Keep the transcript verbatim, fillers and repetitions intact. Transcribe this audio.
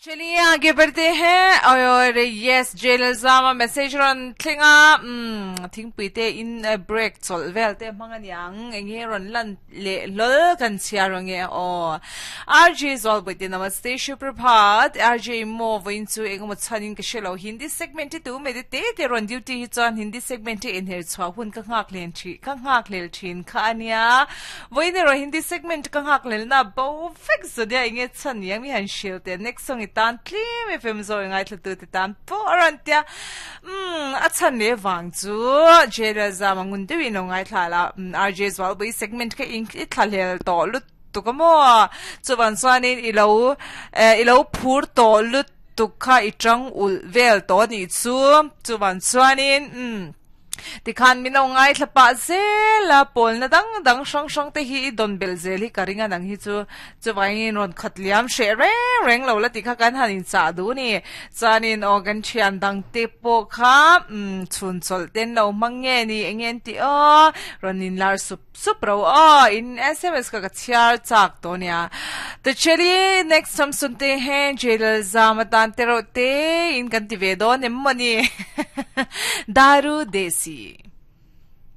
चलिए आगे बढ़ते हैं और yes jelzama message ron thlinga um thingpui te in break chol vel te manganyang enge ron lan le lol kan chia ronge o rj zol boite namaste suprabhat rj mo voin chu engmo chanin ka shelo hindi segment tu me te te ron duty hi chuan hindi segment in her chwa hun ka ngak len thi ka ngak lel thin kha ania voin ro hindi segment ka ngak lel na bo fix so dia enge chan yang mi han shil te next song tan tlim fm zo ngai thlu tu te tan po aran tia um a chan le wang chu jela za mangun te wi no ngai thla la rj zwal boi segment ka in i thla lel to lu tu ka mo chuwan chuanin i lo i lo phur to lu tu kha i tang ul vel to ni chu chuwan chuanin um tikhan min ngai thlapa zela pol na dang dang sang sang te hi don bel zel hi karinga nang hi chu chuwain ron khatliam she reng reng lo la tikha kan hanin cha du ni chanin organ thian dang te po kha um chun chol ten lo mangnge ni engen ti o ronin lar sup sup ro o in sms ka ka chiar chak to nia to chaliye next hum sunte hain jelal zamatan te ro te in kan ti ve don em mani daru desi.